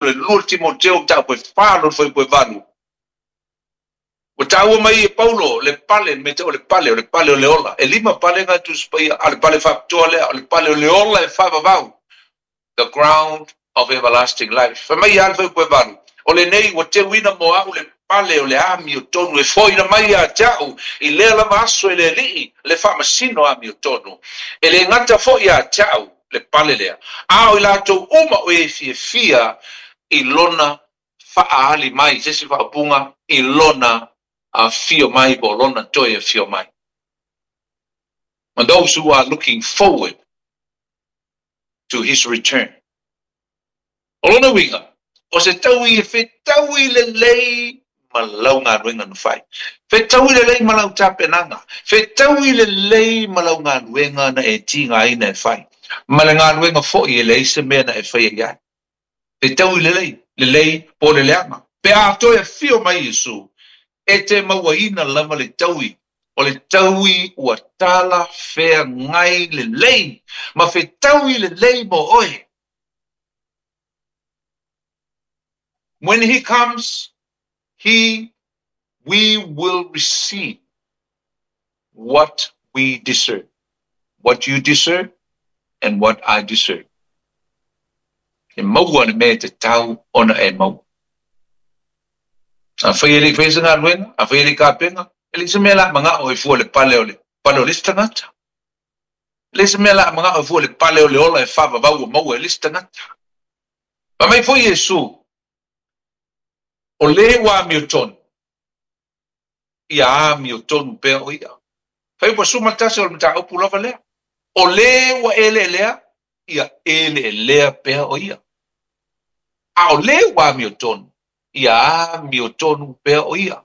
Le 2 Timoteo mataupu e 4 lona fuaiupu e 8. Ua taua mai e Paulo le pale, le mea tau o le pale, o le pale o le ola. E lima pale na Tusi Paia, a o le pale faapitoa lea, o le pale o le ola e faavavau, the ground of everlasting life. Fai mai ia le fuaiupu e 8, O lenei ua teuina mo au le pale o le amiotonu e foina mai ia te au i lea lava aso e le Alii le faamasino amiotonu. E le gata foi ia te au le pale lea, a o i latou uma o e fiafia i lona faaali mai, se isi faaupuga, i lona afio mai po o lona toe afio mai. And those who are looking forward to his return. O lona uiga, o se taui e fetaui lelei ma lau galuega na fai. Fetaui lelei ma lau tapenaga. Fetaui lelei ma lau galuega na e tigaina e fai. Ma le galuega foi e leai se mea na e faia i ai. Fetaui lelei, lelei po o le leaga. Pe a toe afio mai Iesu, e te mauaina lava le taui, o le taui ua talafeagai lelei ma fetaui lelei mo oe. When he comes, he we will receive what we deserve. What you deserve and what I deserve. E maua le mea e tatau ona e maua. Afai e le i faia se galuega, afai e le i kapena, e leai se mea o le a manao e fua le pale o le pale o le isi tagata. E leai se mea o le a manao e fua le pale o le ola e faavavau ua maua e le isi tagata. Fai mai foi Iesu, O le ua amiotonu, ia amiotonu pea o ia. Fai ua suma tasi o le mataupu lava lea. O le ua eleelea, ia eleelea pea o ia. A o le ua amiotonu, ia amiotonu pea o ia.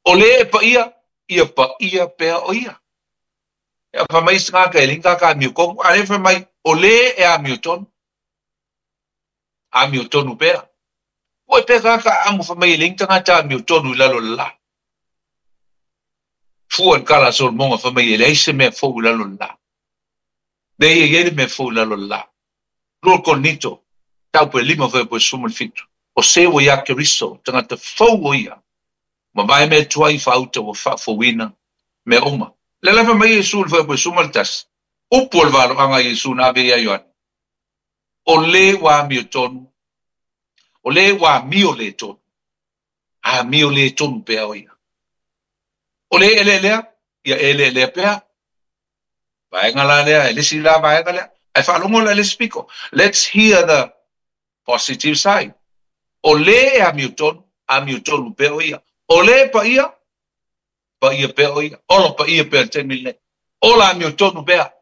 O le e paia, ia paia pea o ia. Ia fai mai isi tagata e leai ni tagata amiotonu, a o lea fai mai, o le e amiotonu, amiotonu pea. Ua pea tagata amu fai mai e leai ni tagata amiotonu i lalo o le la. Fua i le tala a Solomona fai mai e leai se mea fou i lalo o le la. Leai e i ai le mea fou i lalo o le la. 2 Korinito, taupu e 5 fuaiupu e 17. O se ua iā Keriso, tagata fou o ia, mavae mea tuai faauta ua faafouina mea uma. Lea la fai mai Iesu i le fuaiupu e 11, upu o le valoaga a Iesu na ave ia Ioane, O le ua amiotonu, o le ua amio le tonu, amio le tonu pea o ia. O le eleelea, ia eleelea pea. Vaega la lea, e le isi la vaega lea. Ae faalogo la i le isi pito. Let's hear the positive side. O le e amiotonu, amiotonu pea o ia. O le paia, paia pea o ia. Ola paia pea i le taimi lenei. Ola amiotonu pea.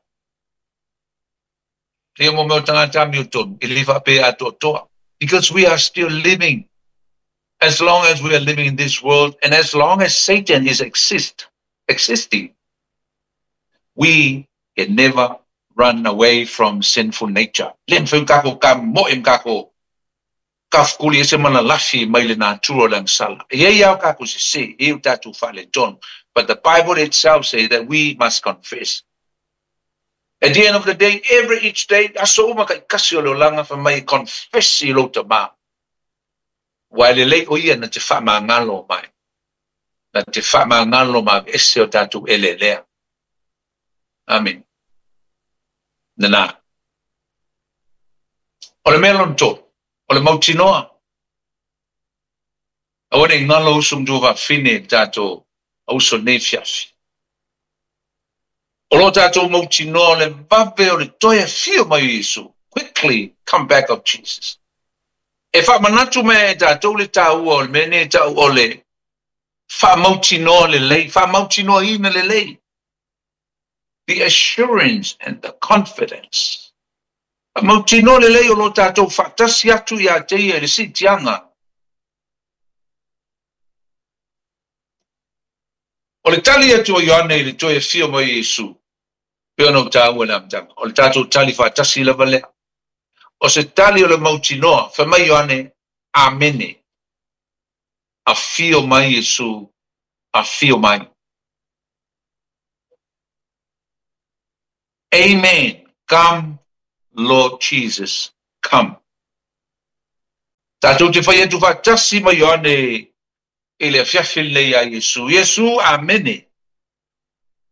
Ia mo mea o tagata amiotonu, e le faapea atoatoa. Because we are still living as long as we are living in this world and as long as Satan is exist, existing, we can never run away from sinful nature. Le mafai ona tatou tamoe ma tatou tafukuli ese ma lalafi mai le natura o le agasala. E i ai lava o tatou sese, e i ai o tatou faaletonu. But the Bible itself says that we must confess. At the end of the day, every each day, aso uma taitasi o le olaga fai mai e confess i lou tama. Ua e lelei o ia na te faamagalo mai, na te faamagalo ma aveese o tatou eleelea. Amene. Lena. O le mea lona tolu, o le mautinoa. Aua ne i galo uso ma tuafafine i le tatou auso i lenei afiafi. O lo tatou mautinoa o le vave o le toe afio mai o Iesu, quickly come back of Jesus. E faamanatu mai e tatou le taua o le mea nei e tau o le faamautinoa lelei, faamautinoaina lelei. The assurance and the confidence. Faamautinoa lelei o lo tatou faatasi atu ia te ia i le siitiaga. O le tali atu a Ioane i le toe afio mai o Iesu, pei ona ou taua i le amataga, o le tatou tali faatasi lava lea. O se tali o le mautinoa, fai mai Ioane, Amene. Afio mai Iesu, afio mai. Amen, come Lord Jesus, come. Tatou te fai atu faatasi ma Ioane i le afiafi lenei iā Iesu. Iesu, Amene.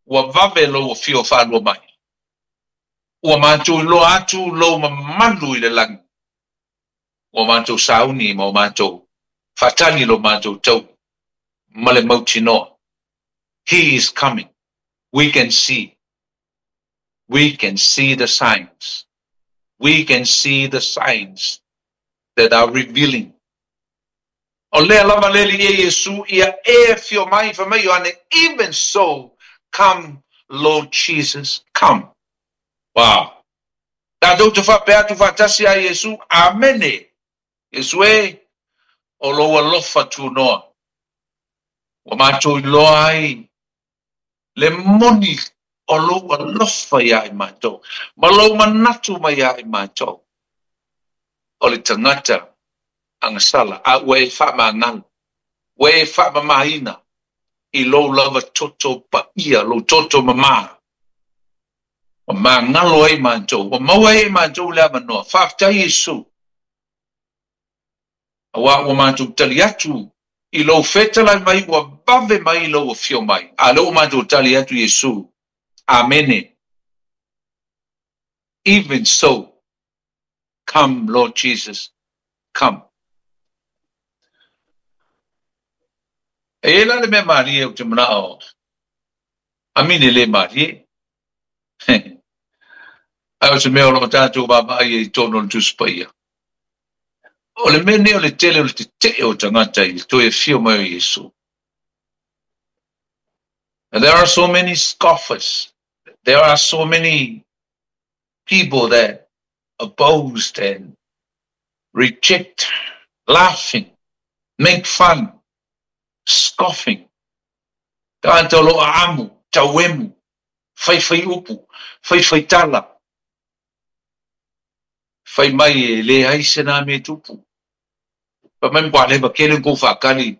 Ua vave lou afio faalua mai. Ua matou iloa atu lou mamalu i le lagi. Ua matou sauni ma ua matou faatali lo matou taui ma le mautinoa. He is coming. We can see. We can see the signs. We can see the signs that are revealing. O lea lava le Alii e Iesu ia e afio mai, fai mai Ioane, even so, come Lord Jesus, come. Wow. Tatou te faapea atu faatasi ia Iesu, Amene. Iesu e, o lou alofa tunoa. Ua matou iloa ai le moni o lou alofa iā i matou, ma lou manatu mai iā i matou. O le tagata agasala, a ua e faamagalo, ua e faamamaina i lou lava toto paia, lou toto mamā. Ua magalo ai matou, ua maua ai e matou le avanoa. Faafetai Iesu. Aua ua matou tali atu i lou fetalai mai ua vave mai i lou afio mai. A lea ua matou tali atu Iesu. Amene. Even so, come Lord Jesus, come. E i ai la le mea malie ou te manao, amine le malie. Ae o se mea o lo o tatou vaavaai ai i totonu o le Tusi Paia. O le mea lenei o le tele o le tetee o tagata i le toe afio mai o Iesu. And there are so many scoffers. There are so many people that opposed and reject, laughing, make fun, scoffing. Tagata o lo o aamu, tauemu, faifai upu, faifai tala. Fai mai e leai se na mea tupu. Fai mai matua leva kele kou faakali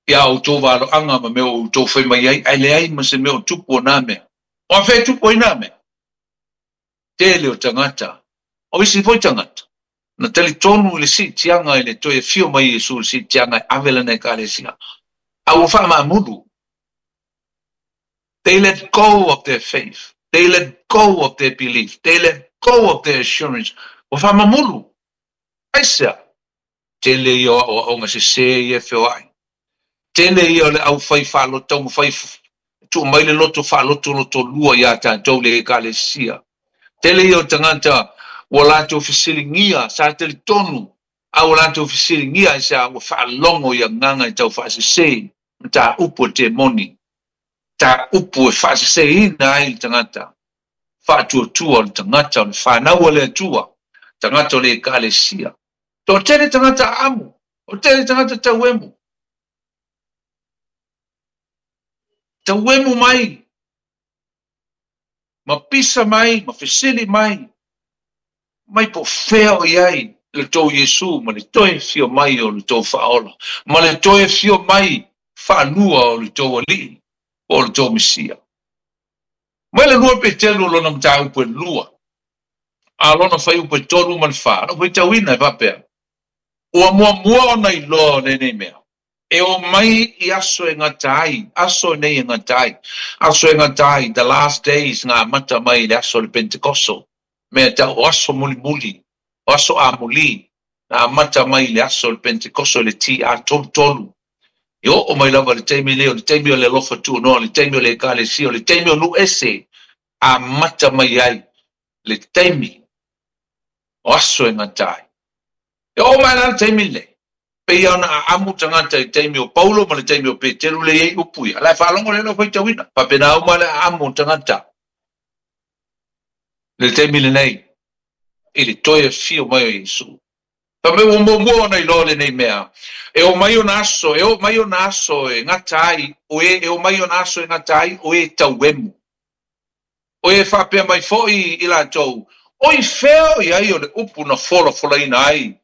ia outou valoaga ma mea o outou fai mai ai, ae leai ma se mea o tupu o na mea. O afea e tupu ai na mea? Tele o tagata, o isi foi tagata, na talitonu i le siitiaga i le toe afio mai Iesu i le siitiaga e ave lana Ekalesia, a ua faamaamulu. They let go of their faith. They let go of their belief. They let go of their assurance. Ua faamamulu. Aisea? Tele ia o aoaoga sese ia e feoai. Tele ia o le aufai faaloto taumafai tuu mai le loto faalotolotolua iā tatou le Ekalesia. Tele ia o tagata ua latou fesiligia, sa talitonu, a ua latou fesiligia aisea ua faalogo i agaga e taufaasese mataupu a temoni, mataupu e faaseseina ai le tagata, faatuatua o le tagata o le fanau a le Atua, tagata o le Ekalesia. Toatele tagata aamu, toatele tagata tauemu. Tauemu mai, ma pisa mai, ma fesili mai, mai po o fea o i ai le tou Iesu ma le toe afio mai o le tou Faaola, ma le toe afio mai faalua o le tou Alii po o le tou Mesia. Mai le 2 Peteru o lona mataupu e 2, a lona fuaiupu e 3 ma le 4, na ou faitauina e faapea, Ua muamua ona iloa o lenei mea, e o mai i aso e gata ai, aso nei e gata ai, aso e gata ai, the last days, na amata mai i le aso o le Pentekoso, mea tau o aso mulimuli, o aso amuli, na amata mai i le aso o le Pentekoso i le TA 33. E oo mai lava i le taimi lenei, o le taimi o le alofa tuunoa, o le taimi o le Ekalesia, o le taimi o nuu ese, amata mai ai le taimi o aso e gata ai. E oo mai la le taimi lenei, pei ona aamu tagata i taimi o Paulo ma le taimi o Peteru le i ai upu ia. La e faalogo le lau faitauina. Faapena uma le aamu o tagata i le taimi lenei i le toe afio mai o Iesu. Fai mai ua muamua ona iloa lenei mea, e oo mai ona aso, e oo mai ona aso e gata ai o e, e oo mai ona aso e gata ai o e tauemu. O e faapea mai foi i latou, O i fea o i ai o le upu na folafolaina ai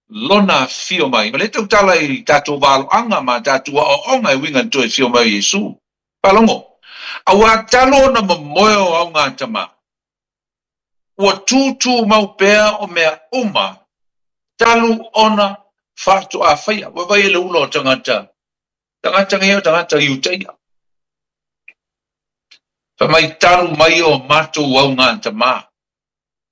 lona afio mai? Ma le tautala i tatou valoaga ma tatou aoaoga e uiga i le toe afio mai o Iesu. Faalogo, Auā talu ona momoe o augatama, ua tūtūmau pea o mea uma Talu ona faatoa faia. Vaavaai i le ula o tagata, tagata nei o tagata Iutaia. Fai mai talu mai o matou augatama.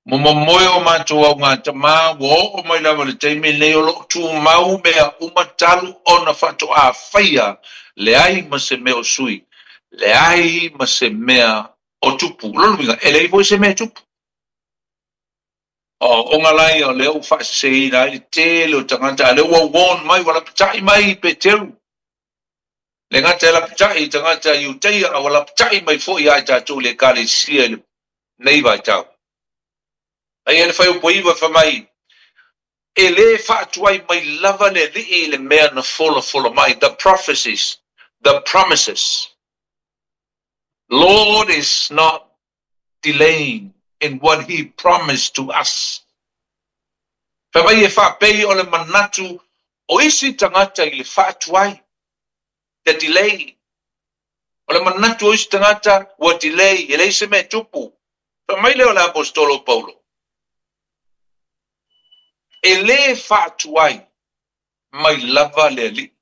Momomoe o matou augatama ua oo mai lava i le taimi lenei o lo o tumau mea uma talu ona faatoa faia, leai ma se mea o sui, leai ma se mea o tupu. O lona uiga, e leai foi se mea e tupu. O oga la ia o lea ua faaseseina ai le tele o tagata, a o lea ua warn mai, ua lapatai mai Peteru. Le gata e lapatai i tagata Iutaia, a ua lapatai mai foi ia i tatou i le Ekalesia i lenei vaitau. A ia le fuaiupu 9 fai mai, E lē faatuai mai lava le Alii i le mea na folafola mai, the prophecies, the promises. Lord is not delaying in what he promised to us. Fai mai e faapei o le manatu o isi tagata i le faatuai, the delay. O le manatu o isi tagata ua delay, e leai se mea e tupu. Fai mai lea o le Aposetolo o Paulo, E lē faatuai mai lava le Alii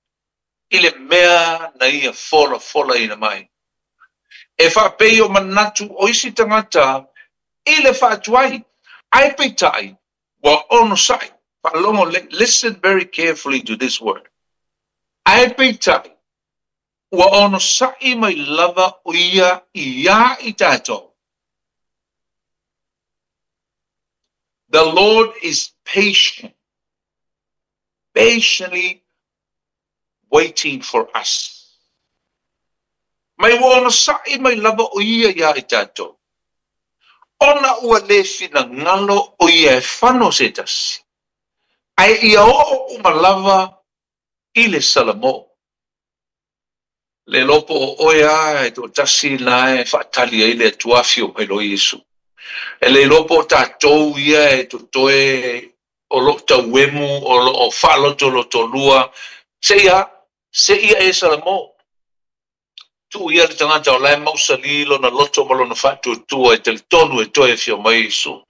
i le mea na ia folafolaina mai. E faapei o manatu o isi tagata i le faatuai, ae peitai ua onosai. Faalogo lelei, listen very carefully to this word. Ae peitai ua onosai mai lava o ia iā i tatou. The Lord is patient, patiently waiting for us. Mai ua onosai mai lava o ia iā i tatou, ona ua lē finagalo o ia e fano se tasi, ae ia oo uma lava i le salamo. Le iloa po o oe a e toatasi la e faatali ai le Atua afio mai loa Iesu. E le iloa po o tatou ia e totoe o lo o tauemu, o lo o faalotolotolua, seia, seia e salamo. Tuu ia le tagata o la e mausali lona loto ma lona faatuatua e talitonu e toe afio mai Iesu.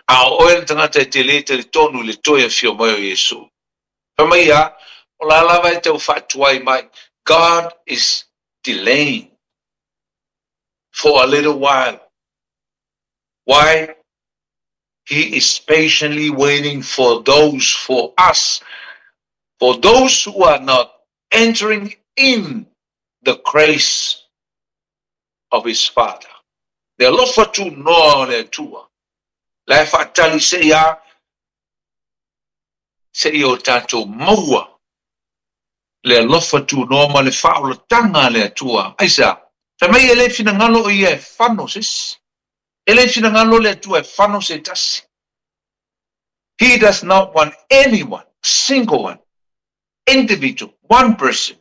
A o oe le tagata e te lē talitonu i le toe afio mai o Iesu. Fai mai ia, o la lava e tau faatuai mai, God is delaying for a little while. Why? He is patiently waiting for those, for us, for those who are not entering in the grace of his Father. Le alofa tunoa o le Atua, la e faatali se ia, seia o tatou maua le alofa tunoa ma le faaolataga a le Atua. Aisea? Fai mai e le finagalo o ia e fano se isi. E le finagalo le Atua e fano se tasi. He does not want anyone, single one, individual, one person,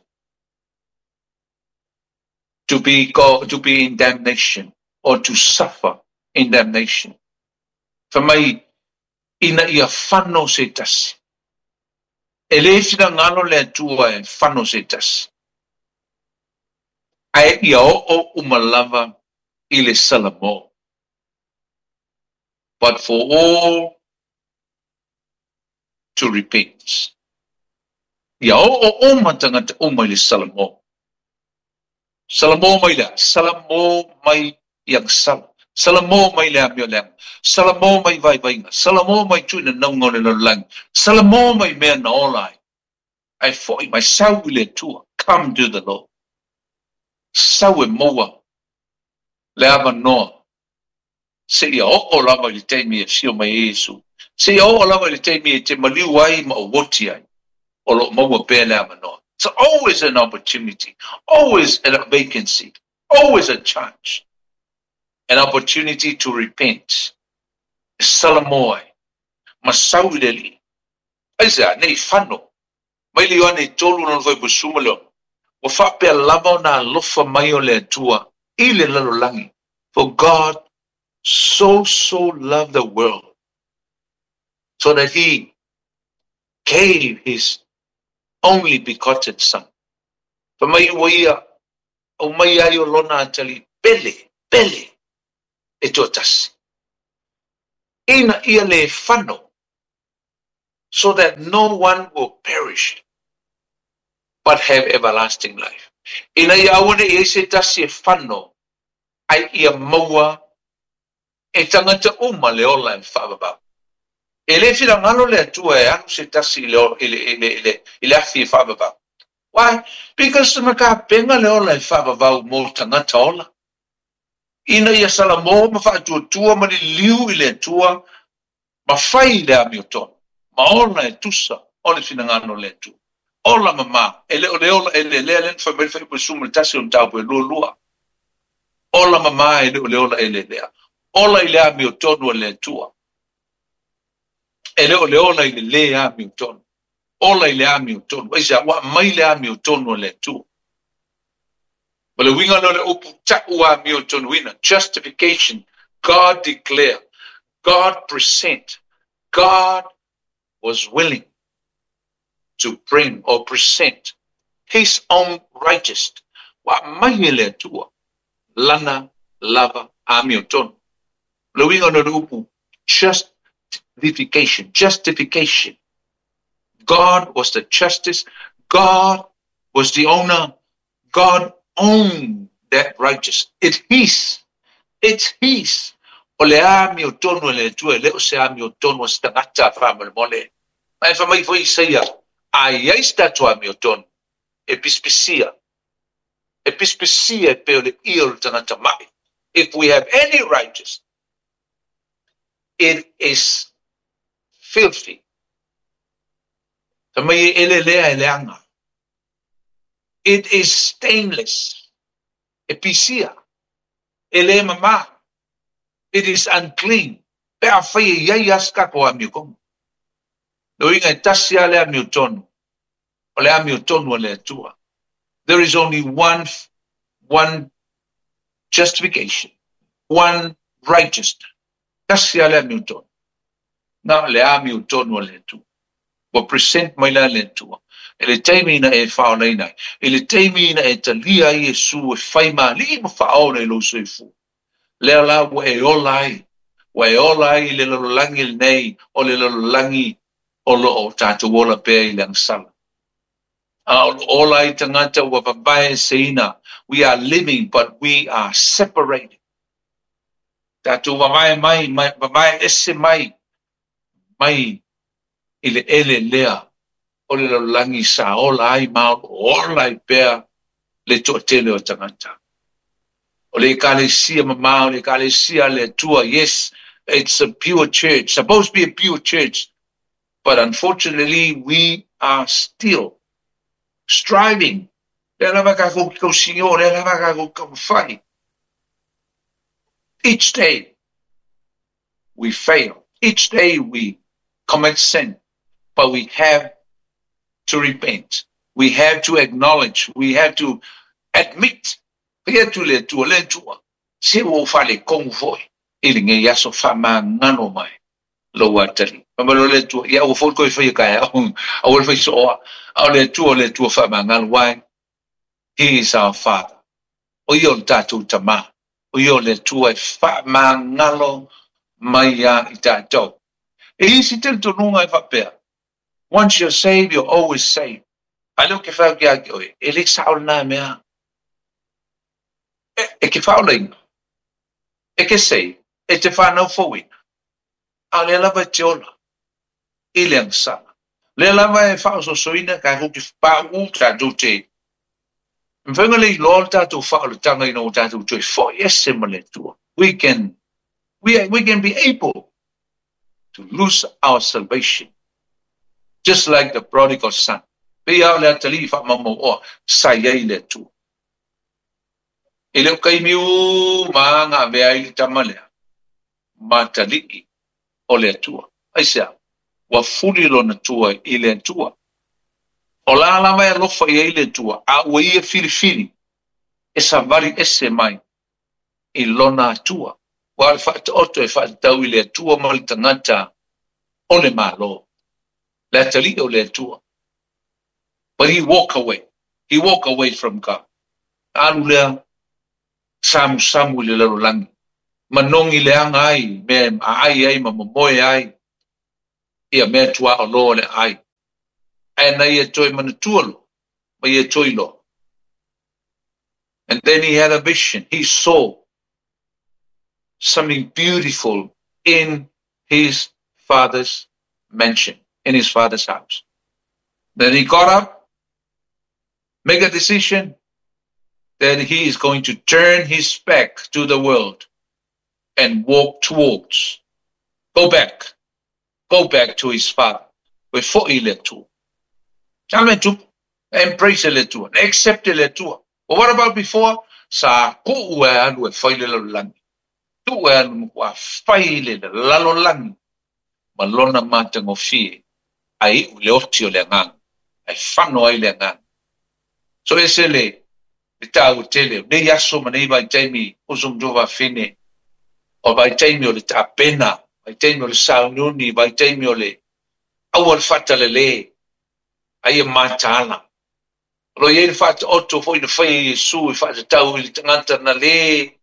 to be, go, to be in damnation or to suffer in damnation. Fai mai, ina ia fano se tasi. E lē finagalo le Atua e fano se tasi, ae ia oo uma lava i le salamo. But for all to repent. Ia oo uma tagata uma i le salamo. Salamo mai le a? Salamo mai i agasala. Salamo mai le amio leaga. Salamo mai vaivaiga. Salamo mai tuinanauga o le lalolagi. Salamo mai mea na ola ai. Ae foi mai, sau i le Atua. Come to the Lord. Sau e maua le avanoa seia oo lava i le taimi e afio mai ai Iesu. Seia oo lava i le taimi e te maliu ai ma ou oti ai, o lo o maua pea le avanoa. It's always an opportunity, always a vacancy, always a chance, an opportunity to repent. E salamo ai, ma sau i le Alii. Aisea, nei fano, mai le Ioane 3 lona 16, ua faapea lava ona alofa mai o le Atua i le lalolagi, for God so so loved the world, so that he gave his only begotten son. Fai mai ua ia aumai ai o lona atalii pele, pele e toatasi, ina ia lē fano. So that no one will perish, but have everlasting life. Ina ia aua ne i ai se tasi e fano, ai ia maua e tagata uma le ola e faavavau. E le finagalo le Atua e alu se tasi i le afi e faavavau. Why? Because na tapena le ola e faavavau mo tagata ola. Ina ia salamo ma faatuatua ma liliu i le Atua ma fai le amiotonu. Ma ola e tusa o le finagalo le Atua. Ola mama, e le o le ola e le lea le fai mai fai 11 o mataupu e 22. Ola mama e le o le ola e le lea. Ola i le amiotonu a le Atua. E le o le ola i le le amiotonu. Ola i le amiotonu. Aisea? Ua mai le amiotonu a le Atua. Ma le uiga lea o le upu ta'u amiotonuina. Justification. God declare. God present. God was willing to bring or present his own righteous. Ua mai e le Atua lana lava amiotonu. Le uiga lea o le upu justification. Justification. God was the justice. God was the owner. God owned that righteous. It's his. It's his. O le amiotonu e le Atua, e le o se amiotonu a se tagata faamolemole. Ma e fai mai foi Isaia, a i ai se tatou amiotonu, e pisipisia. E pisipisia e pei o le ie o le tagata mai. If we have any righteousness, it is filthy. Fai mai e elelea e leaga. It is stainless. E pisia. E le mama. It is unclean. Pe afai e i ai lava se tatou amiotonu. Le uiga e tasi lava le amiotonu. O le amiotonu a le Atua. There is only one justification. One righteousness. Tasi lava le amiotonu. Na le amiotonu a le Atua. Ua present mai la le Atua. E le taimi ina e faolaina ai. E le taimi ina e talia ai Iesu e fai ma alii ma faaola i lou soifua. Lea la ua e ola ai. Ua e ola ai i le lalolagi lenei o le lalolagi o lo o tatou ola pea i le agasala. A o lo ola ai tagata ua vavaeseina. We are living, but we are separated. Tatou vavae mai, mai vavae ese mai, mai i le ele lea o le lalolagi sa ola ai ma o ola ai pea le toatele o tagata. O le ekalesia mama, o le ekalesia a le Atua, yes, it's a pure church, supposed to be a pure church, but unfortunately we are still striving. Lea lava tatou tausigo, lea lava tatou taumafai. Each day we fail. Each day we commit sin, but we have to repent. We have to acknowledge. We have to admit. Fai atu le Atua, le Atua. Se ua ou faaletonu foi. I lenei aso faamagalo mai. Lou atalii. Fai mai loa le Atua, ia aua foi le toe faia taeao. Aua le fai sooa. A o le Atua o le Atua faamagalo. Why? He is our Father. O ia o le tatou Tama. O ia o le Atua e faamagalo mai ia i tatou. E isi talitonuga e faapea, once you're saved, you're always saved. A lea ou te fai atu ia te oe, e le sao lena mea. E te faaolaina, e te save, e te fanau fouina, a o lea lava e te ola i le agasala. Lea lava e faaosoosoina tatou te pauu tatou te mafai ona le iloa le tatou faaolataga ina ua tatou toe foi ese ma le Atua. We can be able to lose our salvation. Just like the prodigal son. Pei lava o le atalii faamaumauoa sa i ai le Atua. E le o taimi uma na avea ai le tama lea ma atalii o le Atua. Aisea? Ua fuli lona tua i le Atua. O la lava e alofa i ai le Atua, a ua ia filifili e savali ese mai i lona Atua. Ua le faataoto e faatatau i le Atua ma le tagata o le Malo. Le atalii o le Atua. But he walk away. He walk away from God. Alu lea samusamu i le lalolagi. Manogi leaga ai, mea e aai ai ma momoe ai. Ia mea tuaoloa o le ai. Ae na ia toe manatua loa ma ia toe iloa. And then he had a vision. He saw something beautiful in his father's mansion, in his father's house. Then he got up, make a decision that he is going to turn his back to the world and walk towards, go back, go back to his father. Ua fo'i i le Atua. Sa le mea tupu, embrace le Atua, accept le Atua. But what about before? Sa kuu e alu e fai le lalolagi. Tuu e alu matua fai le lalolagi ma lona matagofie ae iu i le oti o le agaga, ae fano ai le agaga. So ese le le taua tele o nei aso ma nei vaitaimi uso ma tuafafine, o vaitaimi o le tapena, vaitaimi o le sauniuni, vaitaimi o le aua le faatalale, a ia mataala. O lo o i ai le faataoto foi na faia e Iesu e faatatau i le tagata na lē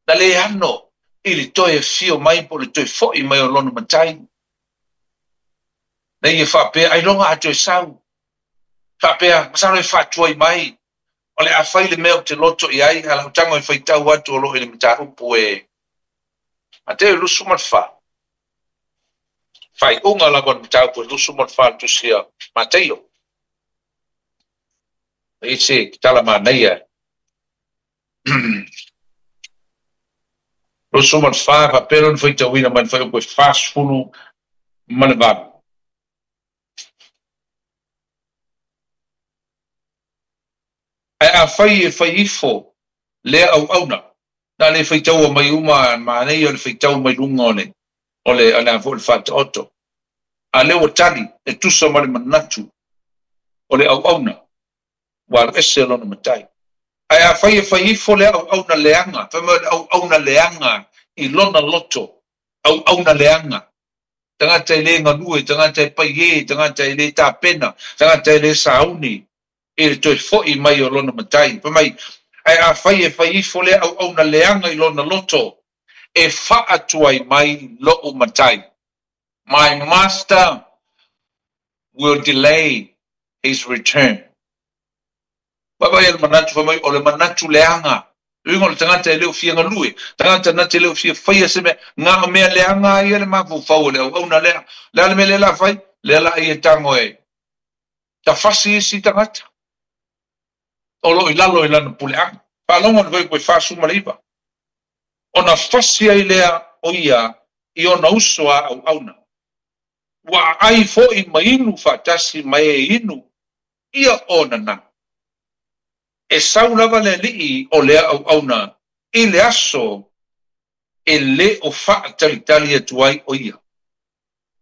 na lē ano i le toe afio mai po o le toe fo'i mai o lona matai. Na ia faapea, ailoga a toe sau. Faapea, masalo e faatuai mai, o le a fai le mea ou te loto i ai, a lau tago e faitau atu o lo o i le mataupu e Mateo 24. Faaiuga lava o le mataupu e 24 le tusi a Mateio. E i se tala manaia. 24, faapea lona faitauina mai le fuaiupu e 48. Ae afai e fai ifo lea auauna, na le faitaua mai uma manaia o le faitau mai luga o le o le o le a foi le faataoto. A lea ua tali e tusa ma le manatu o le auauna, ua alu ese lona matai. Ae afai e fai ifo lea auauna leaga, fai mai o le auauna leaga i lona loto, auauna leaga, tagata e le galue, tagata e paiē, tagata e le tapena, tagata e le sauni i le toe fo'i mai o lona matai. Fai mai, ae afai e fai ifo lea auauna leaga i lona loto, e faatuai mai lo'u matai. My master will delay his return. Vaavaai le manatu, fai mai, o le manatu leaga. Le uiga o le tagata e le o fia galue, tagata na te le o fia faia se mea, na o mea leaga a ia le mafaufau o le auauna lea. Le a le mea lea la fai? Lea la ia tago e tafasi isi tagata o lo o i lalo i lana puleaga. Faalogo le fuaiupu e 49. Ona fasi ai lea o ia i ona uso a auauna. Ua aai foi ma inu faatasi ma e inu ia ona na. E sau lava le alii o lea auauna i le aso e le o faatalitali atu ai o ia.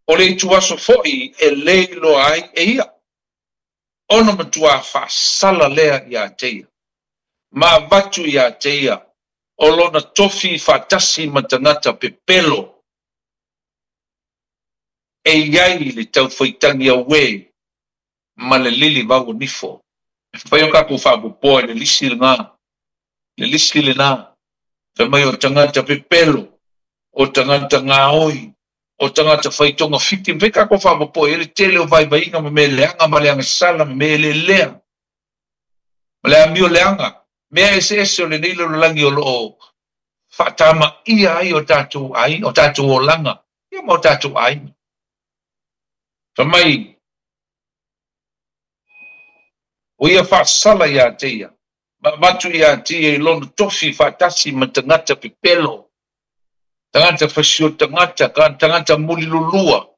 O le ituaso foi e le iloa ai e ia. Ona matuā faasala lea iā te ia. Ma avatu iā te ia o lona tofi faatasi ma tagata pepelo e i ai le taufaitagi auē ma le lili vau o nifo. E fai o kakou faapopoa i le lisi lena, le lisi lena, fai mai o tagata pepelo, o tagata gaoi, o tagata fai togafiti, ma fai kakou faapopoa i ai le tele o vaivaiga ma mea leaga ma le agasala ma mea lelea ma le amio leaga, mea eseese o lenei lalolagi o lo o faatamaia ai o tatou aiga, o tatou olaga, ia ma o tatou aiga. Fai mai, ua ia faasala iā te ia, ma avatu iā te ia i lona tofi faatasi ma tagata pepelo, tagata fasio tagata, tagata mulilulua,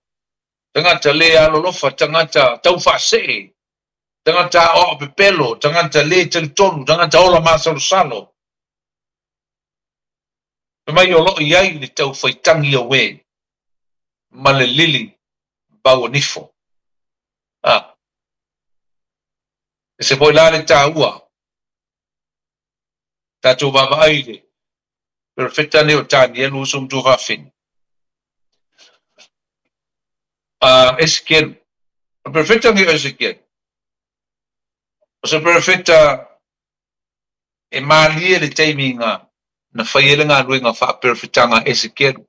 tagata lē alolofa, tagata taufaasee, tagata aoao pepelo, tagata lē talitonu, tagata ola masalosalo. Fai mai o lo o i ai le taufaitagi auē ma le lili vauanifo. A. Ese foi la le taua. Tatou vaavaai i le perofeta nei o Tanielu uso ma tuafafine. A Esekielu. O le perofeta nei o Esekielu, o se perofeta e malie le taimi na na fai ai le galuega faaperofetaga a Esekielu.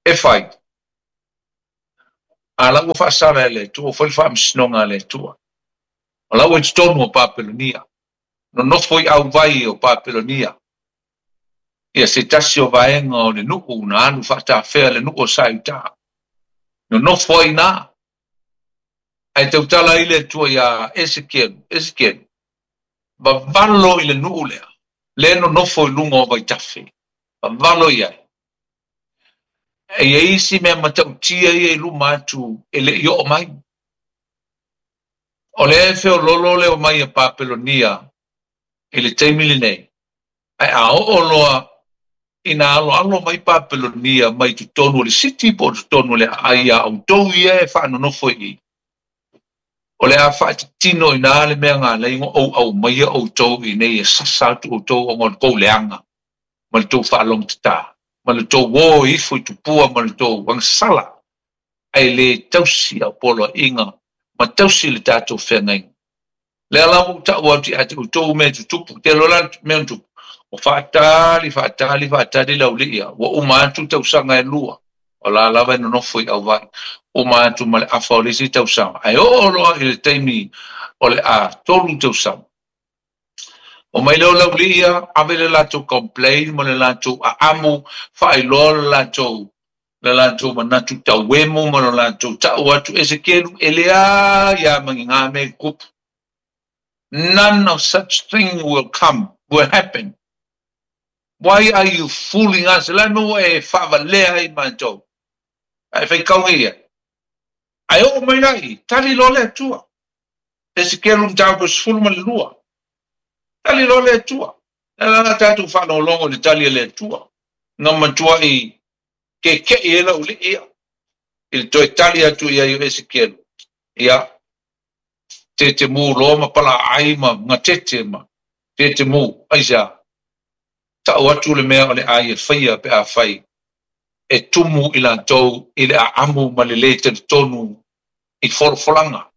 E fai. A la ua faasala e le Atua, ua fai le faamasinoga a le Atua. O la ua i totonu o Papelonia, nonofo i auvai o Papelonia, ia se tasi o vaega o le nuu na alu faatafea le nuu o Saiuta. Nonofo ai na, ae tautala ai le Atua iā Esekielu, Esekielu, vavalo i le nuu lea, lea e nonofo i luga o vaitafe, vavalo i ai. E i ai isi mea matautia ia i luma atu e le i oo mai. O lea e feoloolo le omai a Papelonia i le taimi lenei, ae a oo loa ina aloalo mai Papelonia mai totonu o le siti po o totonu o le aai iā outou ia e faanonofo i i, o le a faatitino i ina le mea na ala ai ona ou aumaia outou i inei e sasa atu outou ona o le tou leaga ma le tou faalogotatā ma le tou o ifo i tupua ma le tou agasala ae le tausi au poloaiga ma tausi le tatou feagaiga. Lea la ua ou tau atu ia te outou mea e tutupu, te iloa la le mea na tupu, ua faatali, faatali, faatali le aulii ia, ua uma atu tausaga e lua, o la lava e nonofo i auvai, uma atu ma le afa o le isi tausaga, ae oo loa i le taimi o le a 3 tausaga. Omai lea o le aulii ia, ave le latou complain ma le latou aamu, faailoa le latou le latou manatu tauemu ma lo latou tau atu, Esekielu, e leai lava ma ni gā mea i tutupu. None of such thing will come, will happen. Why are you fooling us? O le a le mea ua e faavalea ai matou? Ae faitau nei ai. Ae oo mai la i, tali loa le Atua. Esekielu mataupu 12. Tali loa le Atua. O le a la tatou faalogologo i le tali a le Atua? Na matuai keke'i ai lau alii ia i le toe tali atu i ai o Esekielu, ia, tetemu loa ma palaai ma gatete ma tetemu, aisea? Ta'u atu le mea o le a ia faia pe afai e tumu i latou i le aamu ma le lē talitonu i folafolaga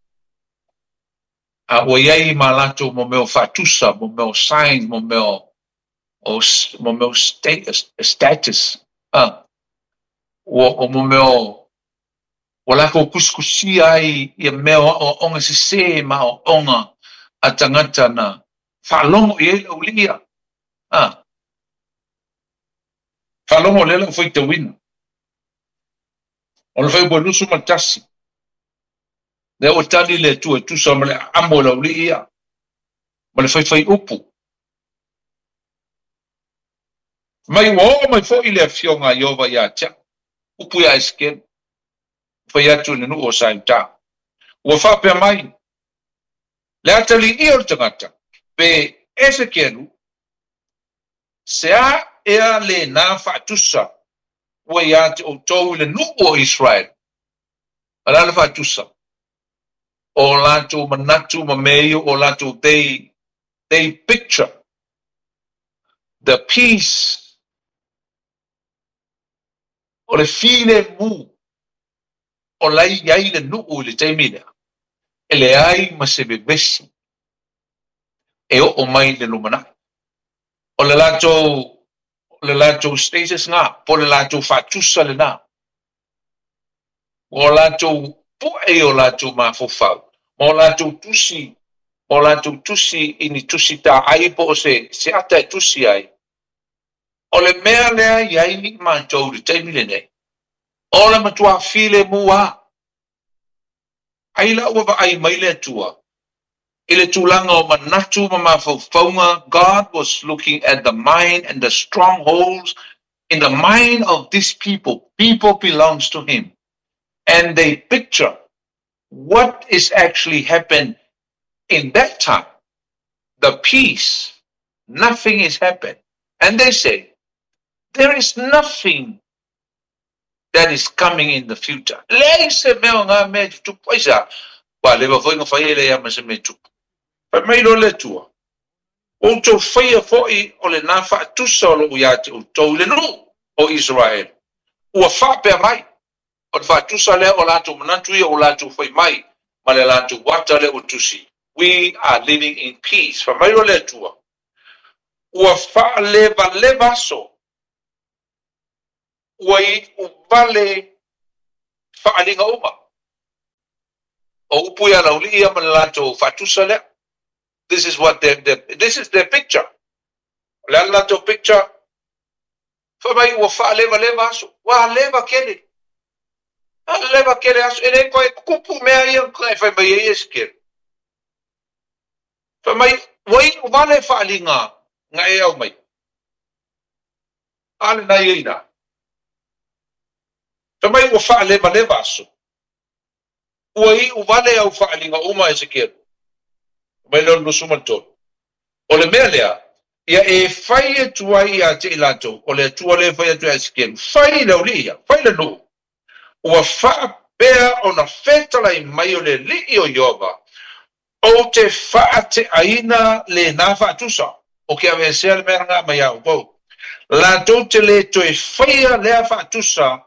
a ua i ai ma latou mo mea o faatusa, mo mea o signs, mo mea o mo mea o status, a, ua o mo mea o ua latou tusitusia ai ia mea o aoaoga sesē ma aoaoga a tagata na faalogo i ai le aualii ia, a. Faalogo lea lau faitauina. O le Fuaiupu 21, lea ua tali le Atua e tusa ma le aamo o le aualii ia, ma le faifaiupu. Mai ua oo mai foi le afioga a Ieova ia te au, upu ia Esekielu, fai atu i le nuu o Saiutā. Ua faapea mai, Le atalii o le tagata, pe Esekielu, se a ea lena faatusa ua ia te outou i le nuu o Iseraele? O le a le faatusa? O latou manatu ma mea ia o latou they, they picture the peace o le filemu o la e i ai le nuu i le taimi lea, e leai ma se vevesi e oo mai i le lumanai. O le latou, o le latou status lena, po o le latou faatusa lena. Ua latou pu'e i o latou mafaufau, ma o latou tusi, ma o latou tusi i ni tusi taai po o se, se ata e tusi ai. O le mea lea e i ai matou i le taimi lenei, o le matua filemu lava. Ai la ua vaai mai le Atua i le tulaga o manatu ma mafaufauga, God was looking at the mind and the strongholds in the mind of this people, people belongs to him and they picture what is actually happen in that time, the peace, nothing is happen and they say there is nothing that is coming in the future. Leai se mea o ngā mea e tutupu. Aisea? Ua leva foi ona fai e leai ma se mea e tupu. Fai mai loa le Atua, Ua outou faia foi o lenā faatusa o lou ia te outou i le nuu o Iseraele. Ua faapea mai, o le faatusa lea o latou manatu ia ua latou fai mai ma le latou ata lea ua tusi, We are living in peace. Fai mai loa le Atua, Ua faalevaleva aso ua iu vale faaaliga uma. O upu ia laulii ia ma le latou faatusa lea. This is what this is their picture. O le a le latou picture? Fai mai ua faalevaleva aso. Ua leva kele. A leva kele aso. E le koe kupu mea ia e fai mai ai e Esekiele. Fai mai, ua iu vale faaliga na e au mai. A lena ia ina. Fai mai ua faalevaleva aso. Ua iu vale au faaliga uma Esekiele. Mai lea o le 23. O le mea lea, ia e fai atu ai ia te i latou, o le Atua lea e fai atu ia Esekiele, fai le aualii ia, fai le nuu. Ua faapea ona fetalai mai o le Alii o Ieova, Ou te faateaina lena faatusa, o ke aveesea le mea lena mai a outou. Latou te le toe faia lea faatusa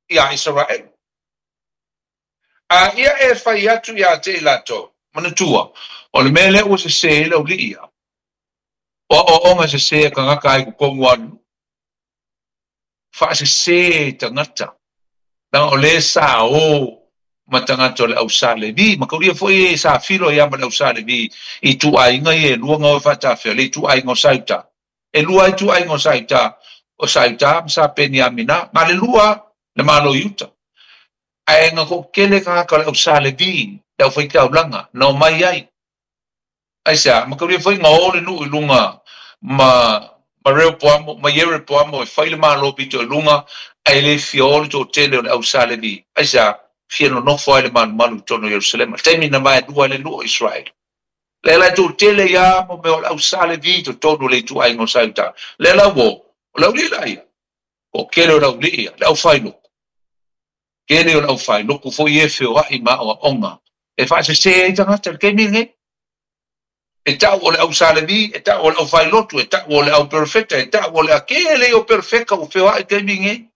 iā Isaraelu. A ia e fai atu iā te i latou, manatua, o le mea lea ua sesē ai le aualii ia, o aoaoga sesē a tagata ai totonu o le nuu. Faasesē tagata, leaga o lea sa o ma tagata o le au Sa Levi, ma kaulia foi e sa filo ai lava ma le au Sa Levi i ituaiga ia e lua na o e faatafea, le ituaiga o Sa Iuta. E lua lava ituaiga o Sa Iuta, o Sa Iuta ma Sa Peniamina, na o le lua lava le Malo i uta. Ae na toatele tagata o le au Sa Levi, le aufaitaulaga, na omai ai. Aisea? Mataulia foi na o le nuu i luga ma ma Reopoamo ma Ierepoamo e fai le malo pito i luga, ae le fia o le toatele o le au Sa Levi. Aisea? Fia nonofo ai le malumalu i totonu o Ierusalema. Taimi na vaelua ai le nuu o Israeli. Lea la e toatele ia mo mea o le au Sa Levi i totonu o le ituaiga o Sa Iuta. Lea la ua o, o le aualii la ia. Toatele o le aualii ia, le aufailotu. Tele o le aufailotu foi e feoai ma aoaoga e faasese ai tagata i le taimi lenei. E tau o le au Sa Levi, e tau o le aufailotu, e tau o le au perofeta, e tau o le a kele ia o perofeta ua feoai i le taimi lenei.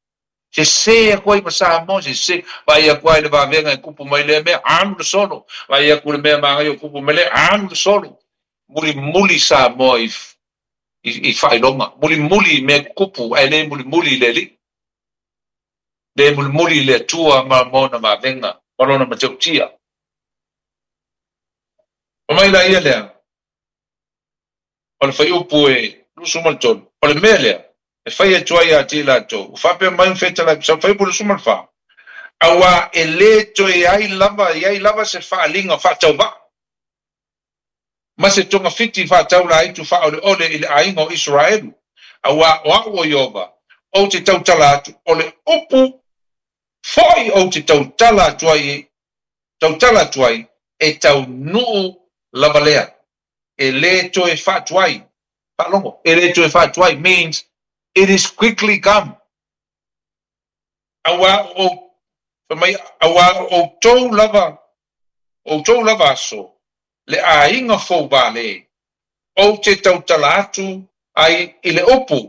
Sese atu ai ma Samoa, sese. Vaai atu lava i le vavega e tupu mai lea mea, alu le solo. Vaai atu i le mea manaia o tupu mai lea, alu le solo. Mulimuli Samoa i, i, i faailoga, mulimuli i mea tutupu, ae le mulimuli i le Alii. Le mulimuli i le Atua ma ona vavega ma lona matautia. Fai mai la ia lea, o le fuaiupu e 23, o le mea lea e fai atu ai ia te i latou, ua faapea mai fetalai, fuaiupu 24, auā e le toe ai lava, i ai lava se faaaliga faatauvaa, ma se togafiti faataulaaitu faaoleole i le aiga o Isaraelu, auā o au o Ieova, ou te tautala atu, o le upu foi ou te tautala atu ai, tautala atu ai, e taunuu lava lea. E le toe faatuai. Faalogo, e le toe faatuai means it is quickly come. Auā o, fai mai, auā o outou lava, outou lava aso, le aiga fou vale, ou te tautala atu ai i le upu,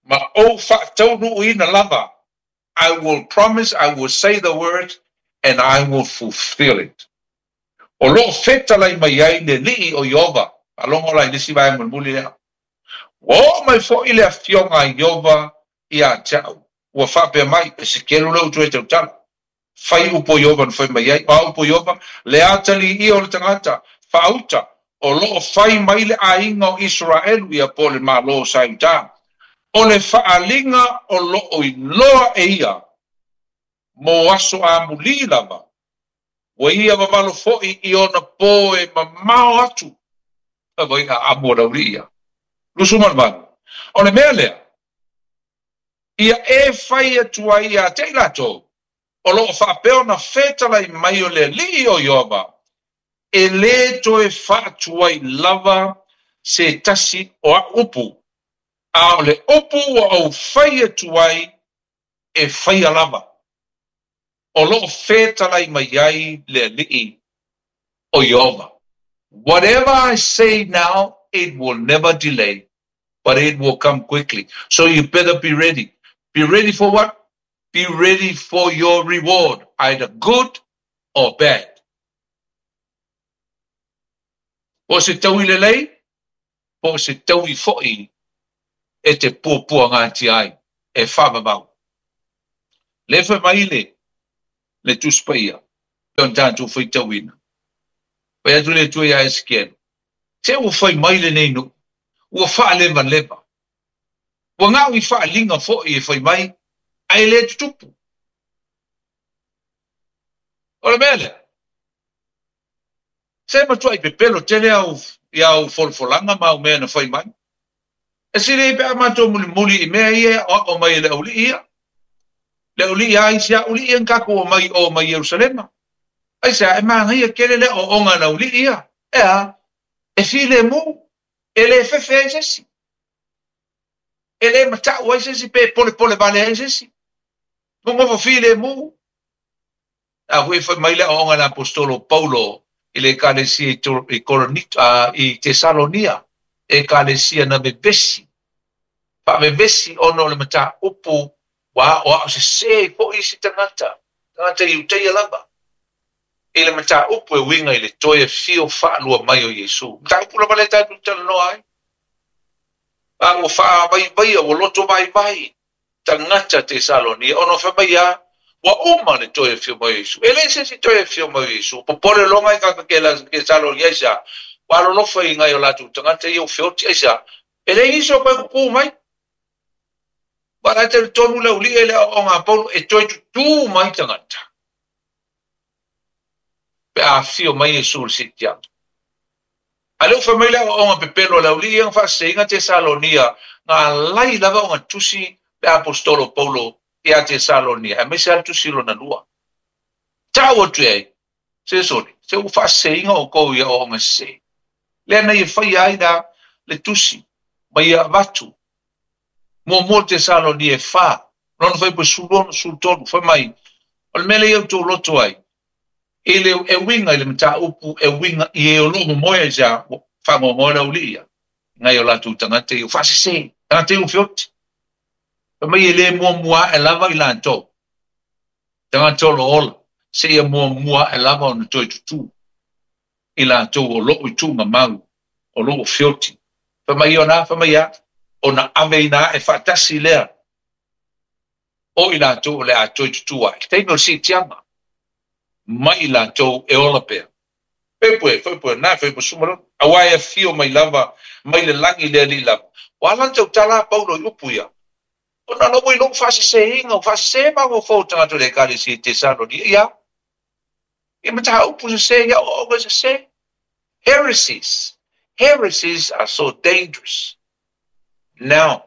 ma ou faataunuuina lava, I will promise, I will say the word, and I will fulfill it. O lo o fetalai mai ai le Alii o Ieova. Faalogo la i le isi vaega mulimuli lea. Ua oo mai foi le afioga a Ieova ia te au, ua faapea mai, Esekielu lea ua toe tautala. Fai upu o Ieova na fai mai ai. O a upu o Ieova? Le atalii ia o le tagata faauta o lo o fai mai le aiga o Isaraelu ia po o le Malo o Sa Iuta. O le faaaliga o lo o iloa e ia mo aso amulī lava, ua ia vavalo foi i ona pō e mamao atu. Fai mai a amo le aualii ia. 28. O le mea lea, ia e fai atu ai ia te i latou, o lo o faapea ona fetalai mai o le Alii o Ieova, e le toe faatuai lava se tasi o au upu, a o le upu ua ou fai atu ai e faia lava. O lo o fetalai mai ai le Alii o Ieova. Whatever I say now, it will never delay, but it will come quickly. So you better be ready. Be ready for what? Be ready for your reward, either good or bad. Po o se taui lelei, po o se taui foi e te puapuagatia ai, e faavavau. Le fai mai le, le Tusi Paia. Ona tatou faitauina. Fai atu le Atua ia Esekiele, Se ua fai mai lenei nuu, ua faalevaleva. Ua ga'u i faaliga foi e fai mai, ae le tutupu. O le mea lea, se matuai pepelo tele au i au folafolaga ma au mea na fai mai. E sili ai pe a matou mulimuli i mea ia e aoao mai e le aualii ia. Le aualii a isi aualii ia na tatou omai i o mai Ierusalema. Aisea, e manaia tele le aoaoga a le aualii ia. E a? E filemu, e le fefe ai se isi. E le matau ai se isi pe polepole vale ai se isi. Nonofo filemu. A foi e fai mai le aoaoga a le aposetolo o Paulo i le Ekalesia i Korinito, i Tesalonia, Ekalesia na vevesi, faavevesi ona o le mataupu ua aoao sese ai foi isi tagata, tagata Iutaia lava, i le mataupu e uiga i le toe afio faalua mai o Iesu. Mataupu lava lea tatou talanoa ai. A ua faavaivaia, ua loto vaivai tagata Tesalonia, ona fai mai a, ua uma le toe afio mai o Iesu. E leai se isi toe afio mai o Iesu. Popole loa ngai tagata Tesalonia aisea? Ua alolofa i ngai o latou tagata ia ua feoti aisea? E leai nisi o koe kukū mai. Ua la e talitonu le aualii e le aoaoga a Paulo e toe tutū mai tagata pe a afio mai Iesu i le siitiaga. A lea ua fai mai le aoaoga pepelo a le aualii ia na faaseseina Tesalonia, na alai lava ona tusi le aposetolo o Paulo ia Tesalonia, aemaise lava le tusi lona lua. Tau atu i ai, se sole, se ua faaseseina outou i aoaoga sese. Lea na ia faia ai la le tusi ma ia avatu. Muamua Tesalonia e 4, lona fuaiupu 16, 13, fai mai, o le mea lea ia outou loto ai, i le e uiga i le mataupu e uiga i e o lo o momoe ai se a, ua faanoanoa le aualii ia, ngai o latou tagata ia ua faasese, tagata ia ua feoti. Fai mai e le muamua ae lava i latou, tagata o lo o ola, seia muamua ae lava ona toe tutū i latou o lo o i tuugamau, o lo o feoti. Fai mai ona, fai mai a, ona aveina ae faatasi lea o i latou o le a toe tutū ae. Taimi o le siitiaga, mai i latou e ola pea. Fai pue, na fai pue suma lona. Aua e afio mai lava, mai le lagi le Alii lava. Ua ala ona tautala a Paulo i upu ia. Ona la ua i lou faaseseina, ua faasese mafaufau o tagata o le Ekalesia i Tesalonia, ia. I mataupu sese, ia aoaoga sese. Heresies. Heresies are so dangerous. Now,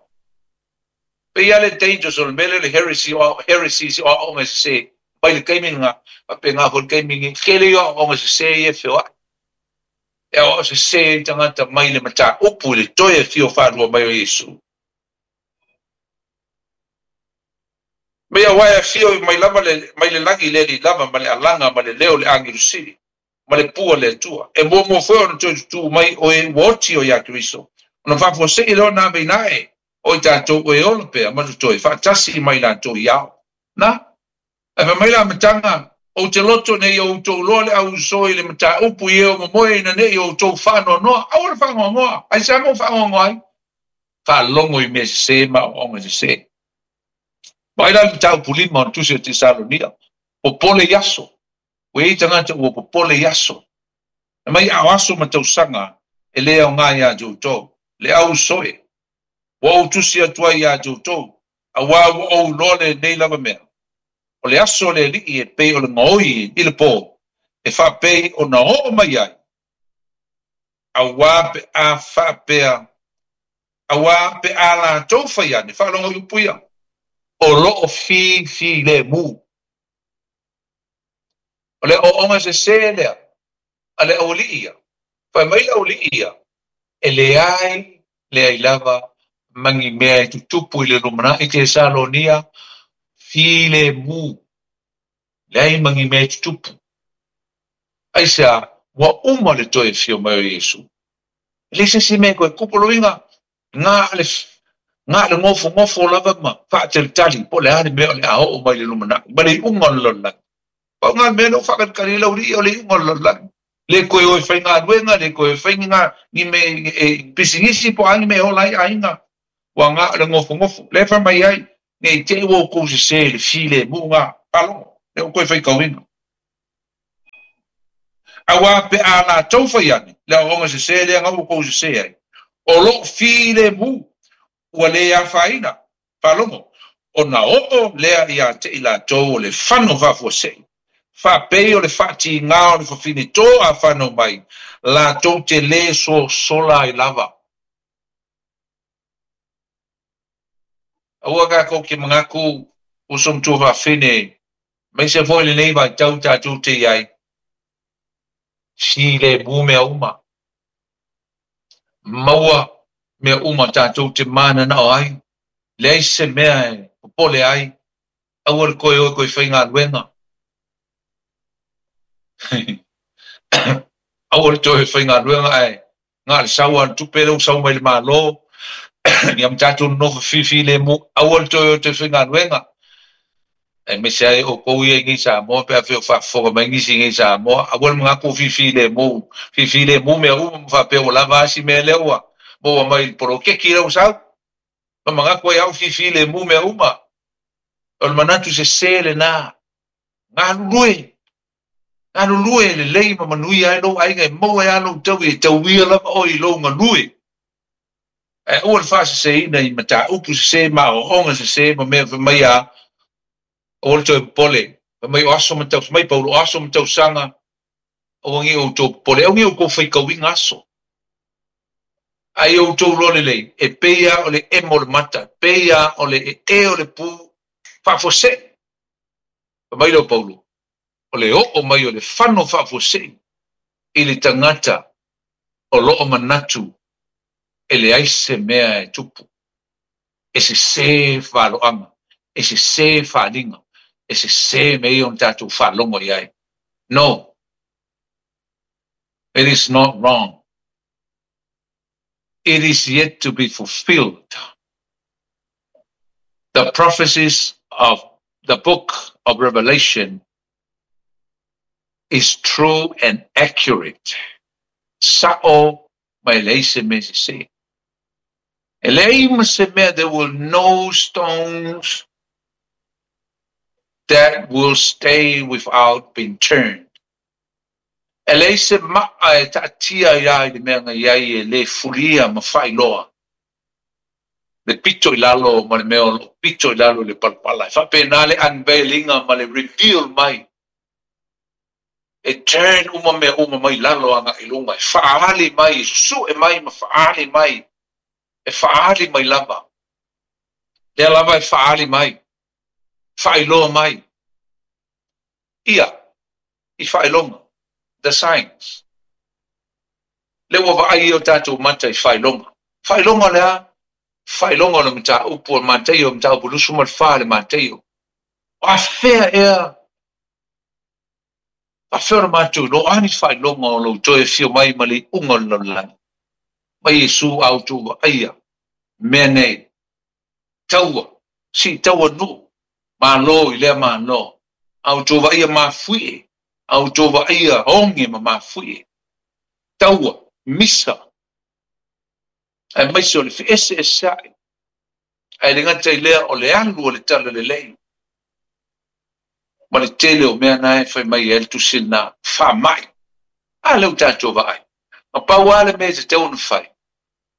pei lava le dangerous o le mea lea o le heresy, o heresies o aoaoga sese mai le taimi lena, faapena foi le taimi lenei. Tele ia o aoaoga sese ia e feoai. E aoao sese ai tagata mai le mataupu i le toe afio faalua mai o Iesu. Mea aua e afio mai lava le, mai le lagi le Alii lava ma le alaga ma le leo o le agelu sili, ma le pua o le Atua. E muamua foi ona toe tutū mai o e ua oti o ia Keriso, ona faafuasei lea ona aveina ae o i tatou o e ola pea ma totoe faatasi ma i latou i ao. Na, ae fai mai le amataga, Ou te loto nei o outou loa le auuso i le mataupu i e o momoe ina ne i outou faanoanoa. Aua le faanoanoa! Aisea mea ua faanoanoa ai? Faalogo i mea sese ma aoaoga sese. Vaai la le mataupu lima o le Tusi o Tesalonia, popole i aso. Ua i ai tagata ua popole i aso. Fai mai a o aso ma tausaga e le aoga iā te outou, le auuso e. Ua ou tusi atu ai iā te outou, auā ua ou iloa lenei lava mea. O le aso o le Alii e pei o le gaoi i le pō, e faapei ona oo mai ai, auā pe a faapea, auā pe a latou fai ane, faalogo i upu ia, o lo o filemu. O le aoaoga sese lea a le aualii ia. Fai mai le aualii ia, e leai, leai lava ma ni mea e tutupu i le lumanai Tesalonia, filemu, leai ma ni mea e tutupu. Aisea, ua uma le toe afio mai o Iesu. E leai se isi mea e toe tupu, o lona uiga, na le, na le nofonofo lava ma faatalitali po o le a le mea o le a oo mai i le lumanai, ma le iuga o le lalolagi. Pau lena le mea lea ua faakalikali ai le aualii, o le iuga o le lalolagi. Le toe o e faigaluega, le toe fai ni ni mea e pisinisi po o a ni mea e ola ai aiga, ua na o le nofonofo. Lea e fai mai ai, ne i te i ua outou sese i le filemu lena. Faalogo, lea ua toe faitauina. Auā pe a latou fai ane, le aoaoga sesē lea na ua kou sesē ai, o loo filemu, ua lē afaina, faalogo, ona oo lea iā te i latou o le fano faafuasei, faapei o le faatigā o le fafine tō a fanau mai, latou te lē sosola ai lava. Aua tatou te manatu uso ma tuafafine, aemaise foi lenei vaitau tatou te i ai, filemu mea uma. Maua mea uma tatou te mananao ai, leai se mea e popole ai, aua le toe o e toe faigaluega. Aua le toe faigaluega ae na o le sau lava o le tupe lea ua sau mai le Malo, ia ma tatou nonofo filemu, aua le toe o e toe faigaluega. Aemaise ai outou ia i nei Samoa pe afai o faafofoga mai nisi i nei Samoa, aua le manatu ua filemu, filemu mea uma ma faapea ua lava a si mea lea ua maua mai i le poloketi lea ua sau. Ma manatu ai au filemu mea uma. O le manatu sese lena. Galulue, galulue lelei ma manuia ai lou aiga e maua ai lava lou taui e tauia lava oe i lou galue. Ae aua le faaseseina i mataupu sese ma aoaoga sese ma mea fai mai a aua le toe popole. Fai mai o aso ma tau, fai mai Paulo, o aso ma tausaga, aua nei outou popole, aua nei outou faitauina aso. Ae ia outou iloa lelei, e pei lava o le emo o le mata, e pei lava o le ee o le pu faafuasei. Fai mai lea o Paulo, o le oo mai o le fano faafuasei i le tagata o lo o manatu e leai se mea e tupu, e sesē valoaga, e sesē faaaliga, e sesē mea ia ona tatou faalogo i ai. No! It is not wrong. It is yet to be fulfilled. The prophecies of the book of Revelation is true and accurate. Sa'o ma e leai se mea sesē. E leai ma se mea, there will no stones that will stay without being turned. E leai se maa e taatia ai a i le mea na i ai e lē fulia ma faailoa le pito i lalo ma le mea o loo pito i lalo i le palapala. E faapena le unveiling-a ma le reveal mai. E turn uma mea uma mai lalo agai i luga, e faaali mai, e susue mai ma faaali mai, e faaali mai lava. Lea lava e faaali mai, faailoa mai. Ia, i faailoga, the signs. Lea ua vaai ai o tatou mata i faailoga. Faailoga o le a? Faailoga o le mataupu o le Mataio, mataupu 24 le Mataio. O afea ea? Faafefea ona matou iloa a ni faailoga o lou toe afio mai ma le iuga o le lalolagi? Mai Iesu a outou vaaia mea nei, taua, sii taua nuu, malo i lea malo, a outou vaaia mafuie, a outou vaaia oge ma mafuie, taua, misa, aemaise o le feeseeseai, ae le gata i lea o le alu o le talalelei ma le tele o mea na e fai mai ai le tusi lena, faamai. A lea ua tatou vaai, na pau lava le mea e tatau ona fai,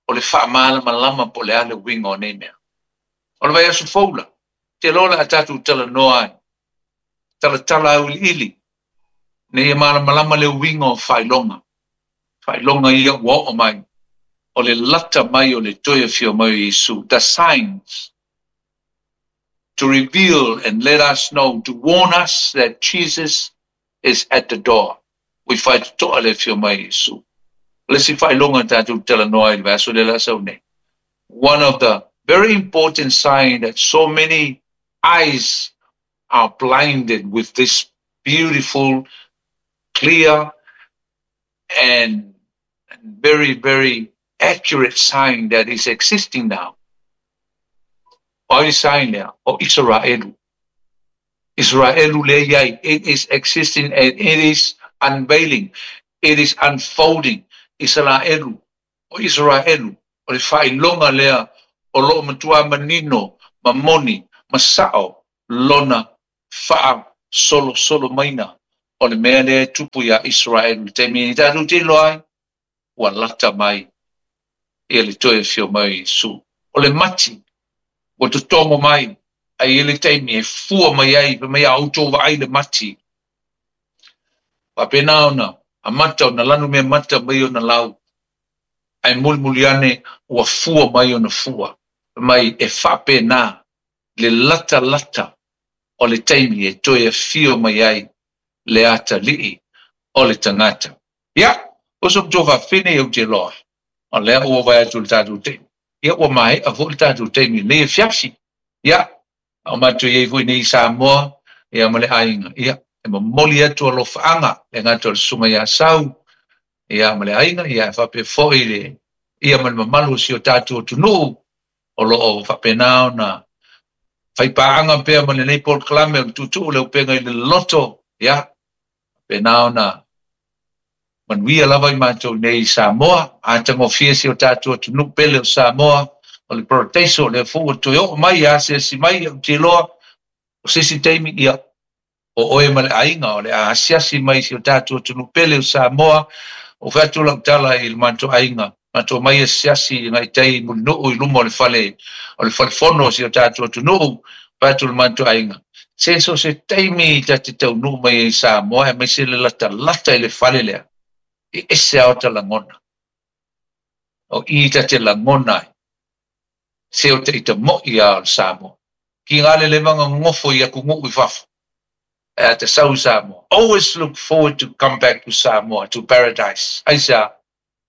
o le faamalamalama po o le a le uiga o nei mea. O le vaiaso fou la, te iloa o le a tatou talanoa ai, talatala auiliili, ina ia malamalama le uiga o faailoga, faailoga ia ua oo mai, o le lata mai o le toe afio mai o Iesu, the signs to reveal and let us know, to warn us that Jesus is at the door. Ua i faitotoa le afio mai o Iesu. O le isi faailoga tatou te talanoa ai i le vaiaso lea o le a sau nei, one of the very important sign that so many eyes are blinded with this beautiful, clear and very, very accurate sign that is existing now. O ai le sign lea? O Isaraelu. Isaraelu lea i ai, it is existing and it is unveiling, it is unfolding. Isaraelu, o Isaraelu, o le faailoga lea o lo o matua manino ma moni ma sao lona faasolosolo maina. O le mea lea e tupu iā Isaraelu i le taimi nei tatou te iloa ai, ua lata mai ia le toe afio mai o Iesu. O le mati ua totogo mai, ae i ai le taimi e fua mai ai, fai mai a outou vaai le mati, faapena ona amata ona lanumea mata mai ona lau, ae mulimuli ane ua fua mai ona fua. Fai mai e faapena le latalata o le taimi e toe afio mai ai le atalii o le tagata. Ia, uso ma tou faafine ou te iloa, o lea ua vaai atu i le tatou taimi, ia ua maea foi le tatou taimi i lenei afiafi. Ia, a o matou i ai foi nei i Samoa, ia ma le aiga, ia, e momoli atu alofaaga le gata o le Susuga ia Sau, ia ma le aiga, ia e faapea foi le ia ma le mamalu o si o tatou atunuu o lo o faapena ona faipaaga pea ma lenei polokalame o le Tuutuu o le Upega i le Loloto, ia, faapena ona manuia lava i matou nei i Samoa, atagofie si o tatou atunuu pele o Samoa, o le paradaiso, o lea foi ua toe oo mai, asiasi mai, ou te iloa, o se isi taimi, ia, o oe ma le aiga, o le a asiasi mai i si o tatou atunuu pele o Samoa. Ua fai atu lau tala i le matou aiga, matou omai asiasi agai tai i Mulinuu i luma o le fale o le fale fono o si o tatou atunuu, fai atu le matou aiga, se so o se taimi ta te taunuu mai ai i Samoa aemaise le latalata i le fale lea, e ese lava ota lagona. O i ta te lagona ai, se o te ita mo'i lava o le Samoa. Ki ngā le leva gogofo i atunuu i fafo, ae a ta sau i Samoa, always look forward to come back to Samoa, to paradise. Aisea?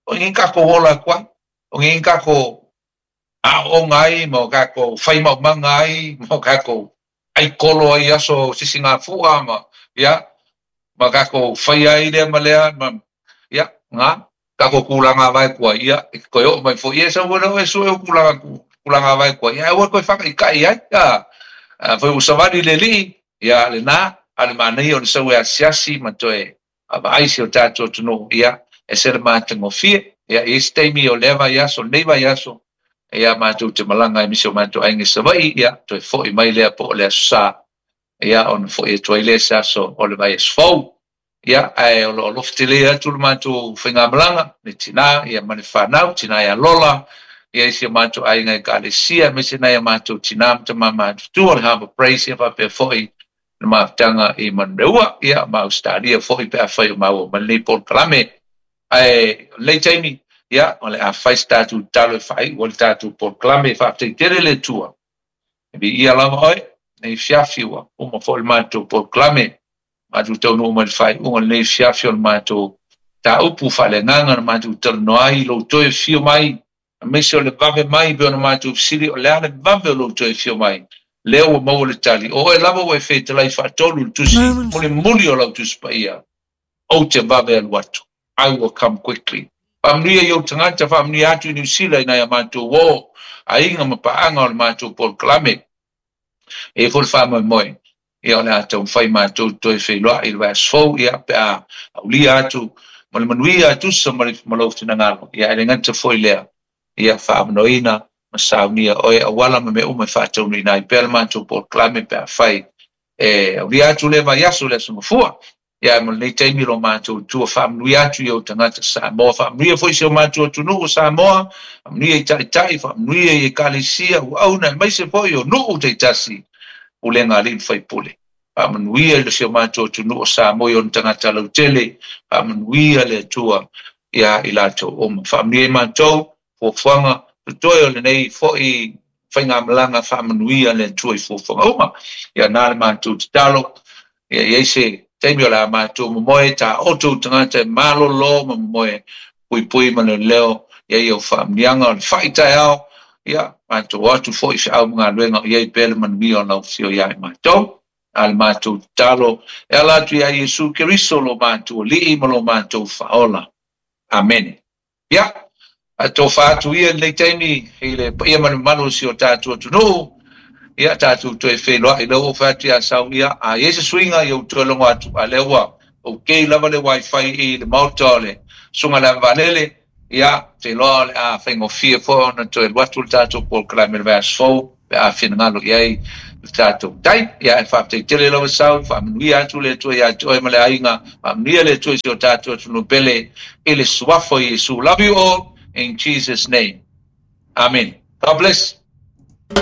O i kākou ola atu ai, o i kākou aoaoga ai, ma o kākou fai maumaga ai, ma o kākou ʻai kolo ai i aso sisigafua ma, ia, ma kākou fai ai lea ma lea, ma, ia, ngā, kākou kūlāga vae kua, ia, e toe oo mai foi, ia e sau foi lea oe e sue ou kūlāga, kūlāga vae kua, ia, aua e toe faakaʻikaʻi ai, a, afai ua savali le alii, ia, lenā, a o le manaia o le sau e asiasi ma toe vaavaai si o tatou atunuu, ia, ese le matagofie, ia, i isi taimi o lea vaiaso, lenei vaiaso, ia, matou te malaga ai ma si o matou aiga i Savaii, ia, toe foi mai lea po o le Aso Sa, ia, ona foi atu ai lea i se aso o le vaiaso fou. Ia, ae o lo o alofa tele atu le matou faigamalaga, le tinā, ia, ma le fanau, tinā ia Lola, ia, i si o matou aiga Ekalesia, aemaise nai a matou tinā ma tamā matutua o le Harbour Praise, ia, faapea foi le mafutaga i Manureua, ia, ma Ausetalia foi pe afai o maua ma lenei polokalame. Ae o lenei taimi, ia, o le a fai se tatou tatalo e faaiu ai le tatou polokalame. Faafetai tele le Atua. E viia lava oe, lenei afiafi ua uma foi le matou polokalame. Matou taunuu mai le faaiuga o lenei afiafi o le matou mataupu faaleagaga na matou talanoa ai i lou toe afio mai, aemaise o le vave mai pei ona matou fesili o le a le vave o lou toe afio mai. Lea ua maua le tali, o oe lava ua e fetalai faatolu i le tusi mulimuli o lau Tusi Paia, ou te vave alu atu. I will come quickly. Faamanuia i ou tagata, faamanuia atu i Niu Sila i nai a matou uo, aiga ma paaga o le matou polokalame. E i ai foi le faamoemoe, ia o le a taumafai matou toe feiloai i le vaiaso fou, ia pe a aulia atu ma le manuia tusa ma le ma lou finagalo, ia e le gata foi lea, ia faaavanoaina ma saunia oe auala ma mea uma e faataunuuina ai pea le matou polokalame pe afai e aulia atu lea vaiaso i le Aso Gafua. Ia mo lenei taimi lo matou Atua faamanuia atu i ou tagata Samoa, faamanuia foi si o matou atunuu o Samoa, faamanuia i taitai, faamanuia i ekalesia, auauna aemaise foi o nuu taitasi, pulega a alii ma faipule. Faamanuia i si o matou atunuu o Samoa i ona tagata lautele, faamanuia le Atua ia i latou uma. Faamanuia i matou fuafuaga totoe o lenei foi faigamalaga, faamanuia le Atua i fuafuaga uma. Ia na le matou tatalo, ia i ai se taimi o le a matou momoe taoto tagata e malolo ma momoe puipui ma leoleo, ia i au faamanuiaga o le fai taeao, ia matou o atu foi i feau ma galuega o i ai pea le manuia o lau afio ia i matou. A le matou tatalo e ala atu ia Iesu Keriso lo matou Alii ma lo matou Faaola. Amene. Ia, a tofa atu ia i lenei taimi i le paia ma le mamalu o si o tatou atunuu, ia tatou toe feiloai lea ua ou fai atu ia Sau, ia a i ai se suiga ia ou toe logo atu, a lea ua okay lava le wifi i le maota o le Susuga i le Ave Vaalele, ia ou te iloa o le a faigofie foi ona toe alu atu le tatou polokalame i le vaiaso fou pe a finagalo i ai. Le tatou tai, ia e faafetai tele lava sau, faamanuia atu le Atua ia te oe ma le aiga, faamanuia le Atua i si o tatou atunuu pele i le suafa o Iesu. Love you all in Jesus' name. Amen. God bless.